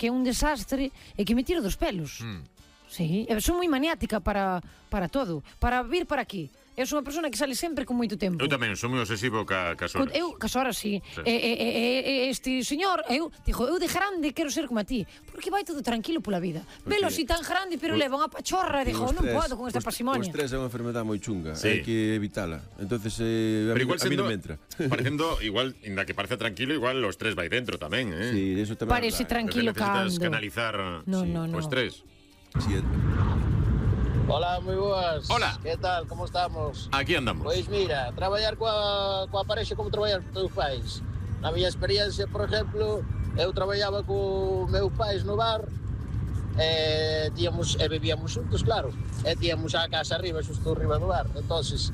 que é un desastre e que me tiro dos pelos. Sí, son moi maniática para todo, para vir para aquí. Eu sou unha persona que sale sempre con moito tempo. Eu tamén, sou moi obsesivo cas horas. Eu, cas horas, sí. Este señor, eu de grande quero ser como a ti, porque vai todo tranquilo pola vida. Velo así tan grande, pero leva unha pachorra, non podo con esta pasimonia. O estrés é unha enfermedade moi chunga, hai que evitala. Entonces, a mí non me entra. Parecendo, igual, inda que parece tranquilo, igual o estrés vai dentro tamén, Sí, eso tamén. Parece tranquilo cando. Necesitas canalizar o estrés. Sí. Hola, moi boas. Hola. Que tal, como estamos? Aquí andamos. Pois mira, traballar coa parexa como traballar con teus pais. Na miña experiencia, por exemplo, eu traballaba co meus pais no bar e vivíamos xuntos, claro. E tíamos a casa arriba, xusto arriba do bar. Entonces,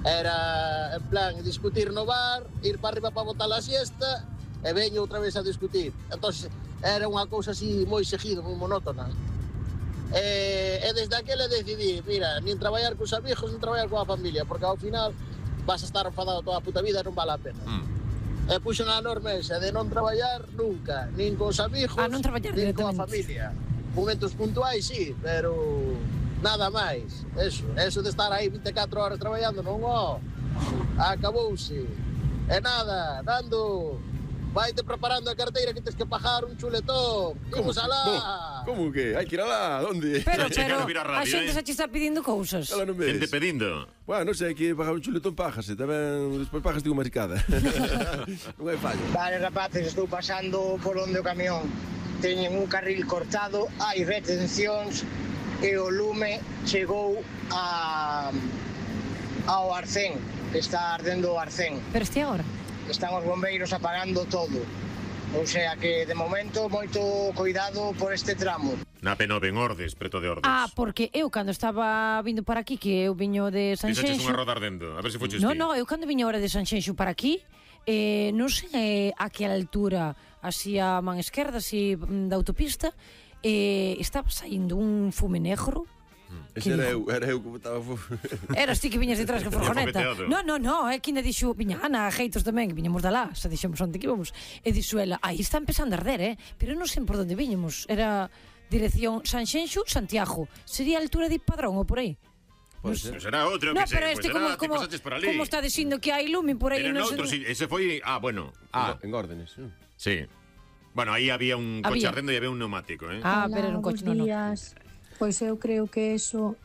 era en plan discutir no bar, ir para arriba para botar a siesta e veño outra vez a discutir. Entonces, era unha cousa así moi seguida, moi monótona. E desde aquele decidí, mira, nin traballar cos amigos, nin traballar coa familia, porque ao final vas a estar enfadado toda a puta vida e non vale a pena. E puxen a norma esa de non traballar nunca, nin cos amigos, nin coa familia. Momentos puntuais, sí, pero nada máis. Eso de estar aí 24 horas traballando, non, acabouse. E nada, Nando, vaite preparando a carteira que tens que pagar un chuletón. Imos alá. Como que? Hai que ir alá, onde? Pero a xente xa te está pedindo cousas. Xente pedindo. Bueno, non sei, hai que pagar un chuletón, págase. Tamén, despois págase unha maricada. Non hai fallo. Vale, rapaces, estou pasando por onde o camión teñen un carril cortado, hai retencións e o lume chegou ao Arcén, que está ardendo o Arcén. Pero este agora? Están os bombeiros apagando todo. O sea que, de momento, moito cuidado por este tramo. Na P9 en Ordes, preto de Ordes. Porque eu cando estaba vindo para aquí, que eu viño de Sanxenxo... Fixaches unha roda ardendo, a ver se foches ti. No, eu cando viño ahora de Sanxenxo para aquí, non sei a que altura, así a man esquerda, así da autopista, estaba saindo un fume negro. Ese era eu como estaba. Eras ti que viñas detrás que furgoneta. No, é que ainda dixo, viña Ana, a Jeitos tamén, que viñamos de lá, xa dixemos onde que íbamos. E dixo ela, aí está empezando a arder, pero non sei por onde viñamos. Era dirección Sanxenxo, Santiago. Sería a altura de Padrón ou por aí. Será outro, que sei, pues como está dicindo que hai lume por aí. Era noutro, ese foi, bueno. En Órdenes. Sí. Bueno, aí había un coche ardendo e había un neumático, pero era un coche, non. Pois eu creo que eso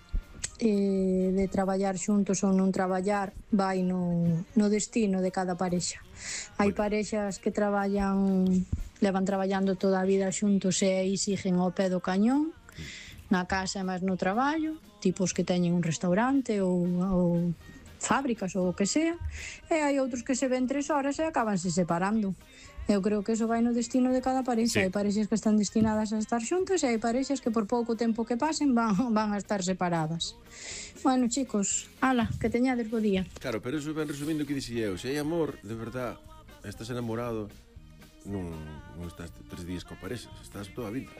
de traballar xuntos ou non traballar vai no destino de cada parexa. Hai parexas que levan traballando toda a vida xuntos e aí siguen ao pé do cañón, na casa e máis no traballo, tipos que teñen un restaurante ou fábricas ou o que sea, e hai outros que se ven 3 horas e acabanse separando. Eu creo que eso vai no destino de cada parexa. Hai parexas que están destinadas a estar xuntos e hai parexas que por pouco tempo que pasen van a estar separadas. Bueno, chicos, ala, que teñades bo día. Claro, pero eso ven resumindo o que dixía eu. Se hai amor, de verdad, estás enamorado, non estás 3 días coa parexa, estás toda a vida.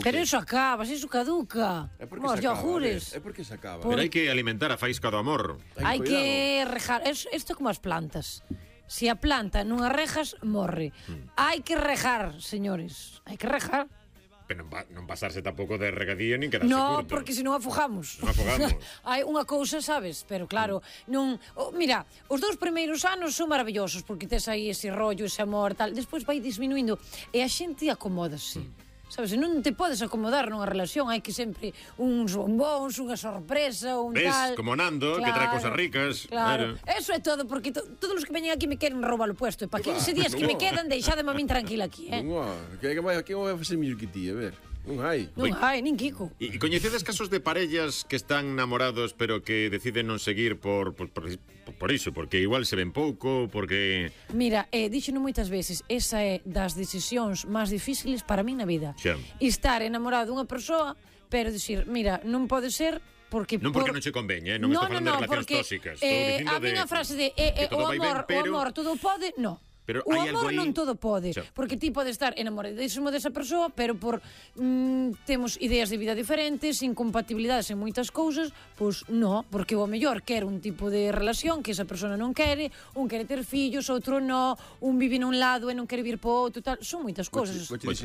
Pero eso acaba, eso caduca. Os yogures. É porque se acaba. Pero hai que alimentar a faísca do amor. Hai que rejar. Isto como as plantas. Se a planta non a rejas, morre. Hai que rejar, señores. Hai que rejar. Pero non pasarse tampouco de regadío nin quedarse No, curto. porque senón afogamos. Hai unha cousa, sabes? Pero claro, non... Mira, os 2 primeiros anos son maravillosos porque tes aí ese rollo, ese amor, tal. Despois vai disminuindo e a xente acomódase. Sabes, non te podes acomodar nunha relación, hai que sempre uns bombóns, unha sorpresa, un tal... Como Nando, que trae cosas ricas. Claro, eso é todo, porque todos os que veñen aquí me queren roubar o puesto, e para 15 días que me quedan, deixademe a min tranquila aquí, Que vai facer mellor que ti, a ver... Non hai, nin Kiko. E coñecedes casos de parellas que están namorados pero que deciden non seguir por iso, porque igual se ven pouco, porque... Mira, díxeno moitas veces, esa é das decisións máis difíciles para min na vida. Estar enamorado dunha persoa, pero dicir, mira, non pode ser porque... Non porque non che conveña, non estou falando de relacións tóxicas. A miña frase de o amor todo pode, non. Pero o amor non todo pode, porque ti pode estar enamoradísimo desa persoa, pero por temos ideas de vida diferentes, incompatibilidades en moitas cousas, pois non, porque o mellor quer un tipo de relación que esa persona non quere, un quere ter fillos, outro non, un vive nun lado e non quere vir po outro, tal, son moitas cousas. Vou te dicir